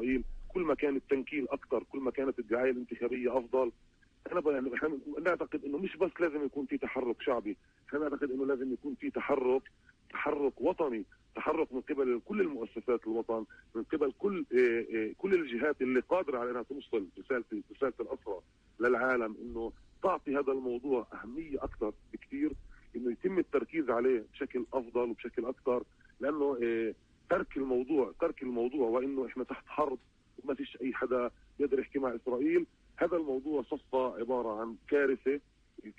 إسرائيل، كل ما كان التنكيل أكثر، كل ما كانت الدعاية الانتخابية أفضل. أنا يعني نعتقد إنه مش بس لازم يكون في تحرك شعبي، أنا نعتقد إنه لازم يكون في تحرك وطني، تحرك من قبل كل المؤسسات الوطن، من قبل كل الجهات اللي قادرة على أنها توصل رسالة الأسرى للعالم، إنه تعطي هذا الموضوع أهمية أكثر بكثير، إنه يتم التركيز عليه بشكل أفضل وبشكل أكثر، لأنه ترك الموضوع وإنه إحنا تحت حرب وما فيش أي حدا يقدر يحكي مع إسرائيل، هذا الموضوع صفى عبارة عن كارثة.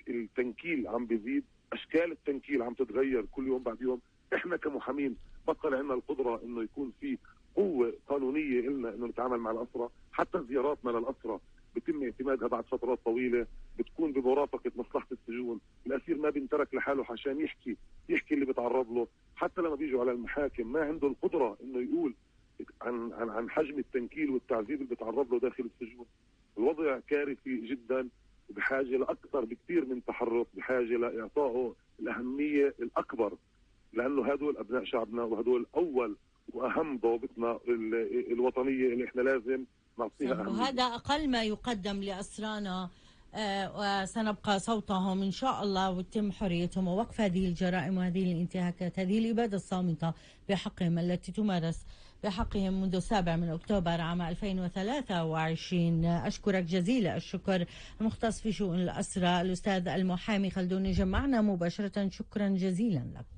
التنكيل عم بيزيد، أشكال التنكيل عم تتغير كل يوم بعد يوم. إحنا كمحامين بطل عندنا القدرة إنه يكون في قوة قانونية إلنا إنه نتعامل مع الأسرى، حتى زياراتنا للأسرى بيتم اعتمادها بعد فترات طويلة، بتكون بمرافقة مصلحة السجون. الأسير ما بينترك لحاله عشان يحكي اللي بيتعرض له، حتى لما بيجوا على المحاكم ما عنده القدرة إنه يقول عن حجم التنكيل والتعذيب اللي بيتعرض له داخل السجون. الوضع كارثي جدا، وبحاجة لأكثر بكثير من تحرك، بحاجة لإعطائه الأهمية الأكبر، لأنه هدول أبناء شعبنا، وهدول أول وأهم ضوابطنا الوطنية اللي إحنا لازم نعطيها أهمية. وهذا أقل ما يقدم لأسرانا، وسنبقى صوتهم إن شاء الله، وتتم حريتهم ووقف هذه الجرائم وهذه الانتهاكات، هذه الإبادة الصامتة بحقهم التي تمارس بحقهم منذ 7 أكتوبر عام 2023. أشكرك جزيل الشكر المختص في شؤون الأسرى الأستاذ المحامي خلدون، جمعنا مباشرة. شكرا جزيلا لك.